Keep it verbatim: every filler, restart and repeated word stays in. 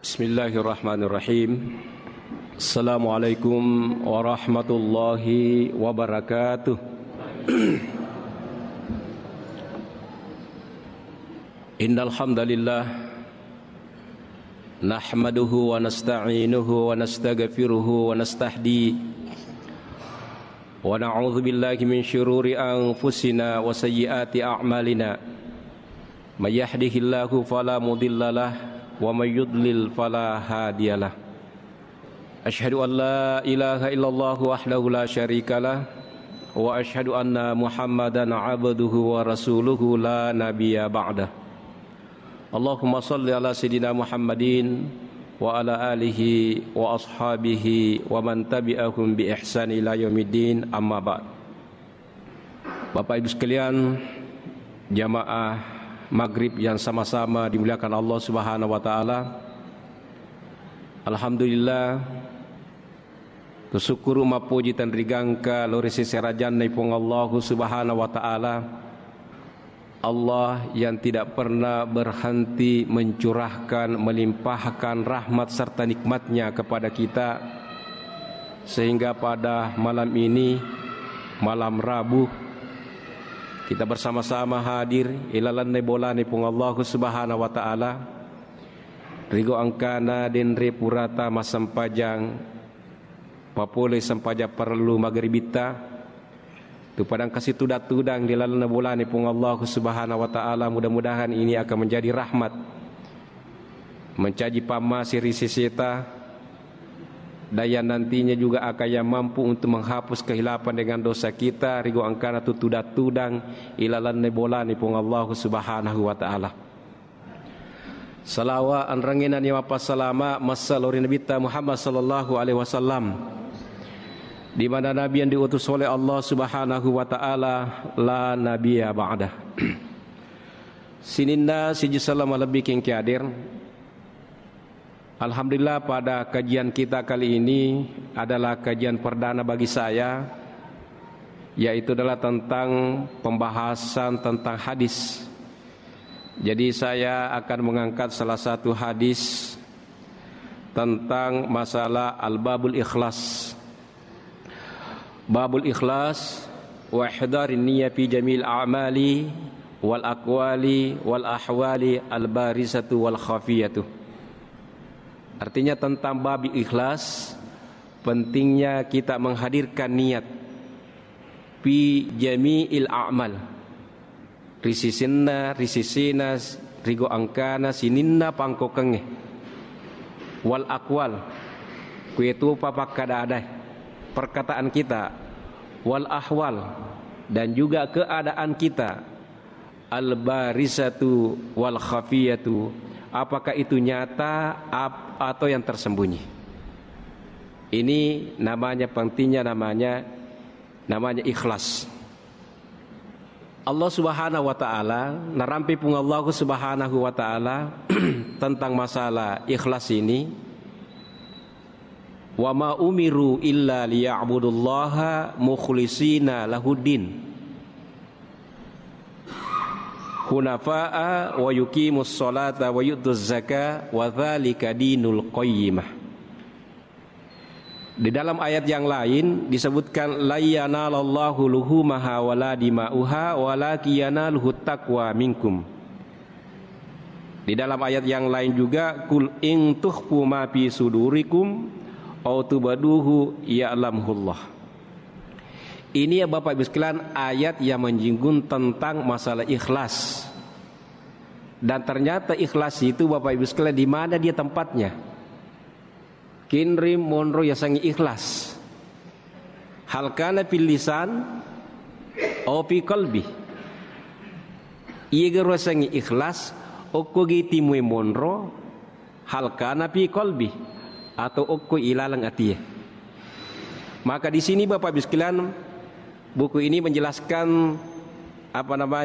Bismillahirrahmanirrahim. Assalamualaikum warahmatullahi wabarakatuh. Innal hamdalillah, nahmaduhu wa nasta'inuhu wa nastaghfiruhu wa nastahdi, wa na'udzu billahi min syururi anfusina wa sayyiati a'malina. May yahdihillahu fala mudhillalah, wa may yudlil fala hadiyalah. Asyhadu an la ilaha illallah wahdahu la syarikalah, wa asyhadu anna Muhammadan abduhu wa rasuluhu la nabiyya ba'dah. Allahumma salli ala sayyidina Muhammadin wa ala alihi wa ashabihi wa man tabi'ahum bi ihsan ila yaumiddin, amma ba'd. Bapak Ibu sekalian, jamaah maghrib yang sama-sama dimuliakan Allah Subhanahu wa taala. Alhamdulillah, kusyukuru mappoji tenrigangka lao ri sese rajanna Puang Allahu Subhanahu wa taala. Allah yang tidak pernah berhenti mencurahkan, melimpahkan rahmat serta nikmatnya kepada kita, sehingga pada malam ini, malam Rabu, kita bersama-sama hadir ilalanna bolana Puang Allahu Subhanahu wa taala. Rigo engkana denre purata massempajang, papole sempajang parellu magribitta, tu padang kasi tudang-tudang di lalenna bolana Puang Allahu Subhanahu wa taala. Mudah-mudahan ini akan menjadi rahmat, mencaji pammase ri seseta, dan yang nantinya juga akan yang mampu untuk menghapus kehilapan dengan dosa kita, rigo engkana tu tudang-tudang ilalanna bolana Puang Allahu Subhanahu wa taala. Salawa enrengnge nani mappassalama massa lao ri Nabitta Muhammad sallallahu alaihi wasallam, di mana Nabi yang diutus oleh Allah Subhanahu wa taala, la nabiyya ba'dah. Sininna siji selleng malebbi kengki hadir. Alhamdulillah, pada kajian kita kali ini adalah kajian perdana bagi saya, yaitu adalah tentang pembahasan tentang hadis. Jadi, saya akan mengangkat salah satu hadis tentang masalah al-babul ikhlas. Babul ikhlas, wa ihdarin niyya fi jamil a'mali wal aqwali wal ahwali al barizatu wal khafiyatu. Artinya, tentang bab ikhlas, pentingnya kita menghadirkan niat fi jami'il a'mal. Ri sisinna, ri sisina, rigo engkana sininna pangkokengnge. Wal aqwal, kuetupa pakkada-adae, perkataan kita. Wal ahwal, dan juga keadaan kita. Al barizatu wal khafiyatu, apakah itu nyata ap-, atau yang tersembunyi? Ini namanya pentingnya, namanya, namanya ikhlas. Allah Subhanahu wa taala, narampe Puang Allah Subhanahu wa taala tentang masalah ikhlas ini, "Wa ma umiru illa liya'budullaha mukhlishina lahuddin, hunafa'a wa yuqimus sholata wa yu'tuz zaka wa dzalika dinul qayyimah." Di dalam ayat yang lain disebutkan, "Lan yanalallahu luhumaha wala dima'uha walakin yanaluhu taqwa minkum." Di dalam ayat yang lain juga, "Qul in tukhfu ma fi sudurikum aw tubduhu ya'lamhullah." Ini, ya Bapak Ibu sekalian, ayat yang menyinggung tentang masalah ikhlas. Dan ternyata ikhlas itu, Bapak Ibu sekalian, di mana dia tempatnya? Kinri monro yasengnge ikhlas. Hal kana fil lisan aw fi qalbi. Iyaga ro yasengnge ikhlas, okko gi timue monro, hal kana fi qalbi, atau okko ilaleng atie. Maka di sini, Bapak Ibu sekalian, buku ini menjelaskan, apa namanya,